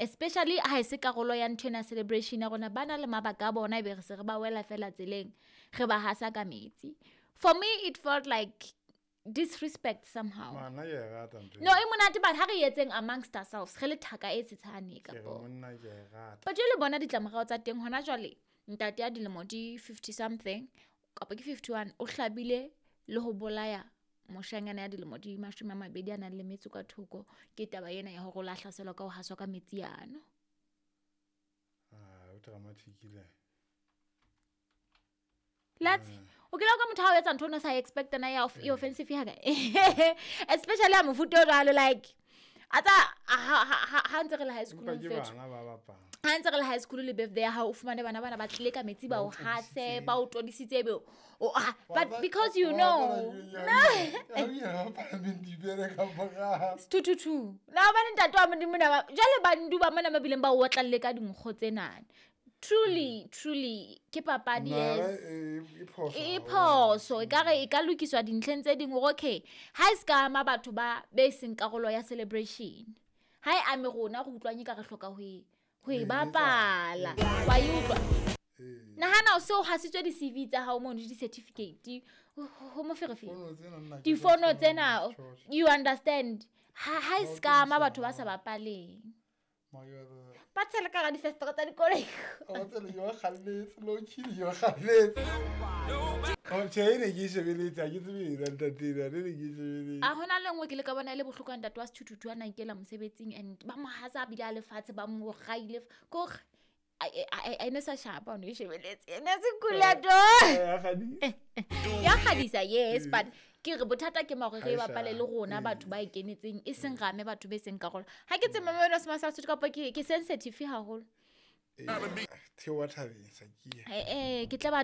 Especially ha e se karolo ya ntho ena ya celebration ya rona, ba na le mabaka a bona, ebe re se re ba wela fela tseleng, re ba hasa ka metsi. For me it felt like disrespect somehow. Ngwana ke e rata ntho No, e monate, but ha re etseng amongst ourselves, re le thaka e tshetshane ke re kapo. monna ke e rata. But jwale bona ditlamorao tsa teng hona jwale, ntate ya dilemo di 50 something kapa ke 51, o hlabile le ho bolaya moshanyana ya dilemo di 20 a nang le metso ka thoko, ke taba ena ya hore o la hlaselwa ka ho haswa ka metsi ano. Ah, o dramatic le. Let's o kile ka motho ha o etsa ntho o no sa expect na ya e offensive ya ka. Especially ha mofuta o jwalo, like a tsa ha ntse re le high school, Empa ke mfetho. bana ba bapala. Ha ntse re le high school le birthday ya hao, o fumane bana bana ba tlile ka metsi, ba o hase, ba o todisitse, ebe o ah, but because you know Sethuthuthu na bane ntate wa Modimo na jwale bandu ba mona ba bileng ba o otlalle ka dinkgo tsenana. Truly, truly ke papadi, yes, e phoso, e ka re e ka lokiswa dintlheng tse dingwe, hore okay, ha e se ka ama batho ba be seng karolo ya celebration, ha e ame rona, re utlwang e ka re hloka ho e bapala, wa e utlwa. Nahana o se o hasitswe di-CV tsa hao mono, le di-certificate, ho moferefere, difono tsena, you understand? Ha e se ka ama batho ba sa bapaleng, ba tshele ka hara difestere tsa dikoloi. Tjhe, e ne ke e shebeletse, ha ke tsebe ena ntate ena, ne ke e shebeletse. A hona le nngwe ke le ka bona e le bohloko ya ntate wa sethuthutu a na ikela mosebetsing, and ba mo hasa a bile a lefatshe, ba mo raile kore a ne sa shapa, o ne e shebeletse, e ne se kula to. Ya kgadisa. Ya kgadisa, yes, but ke re bothata ke ma hore re e Ha e bapale le hlahe. rona batho ba e kenetseng, e seng rame batho be seng karolo. Ha ke tsebe mama wena se sa kapa ke sensitive haholo. Theoha thabeng, Sakia. Eh, ke tla ba.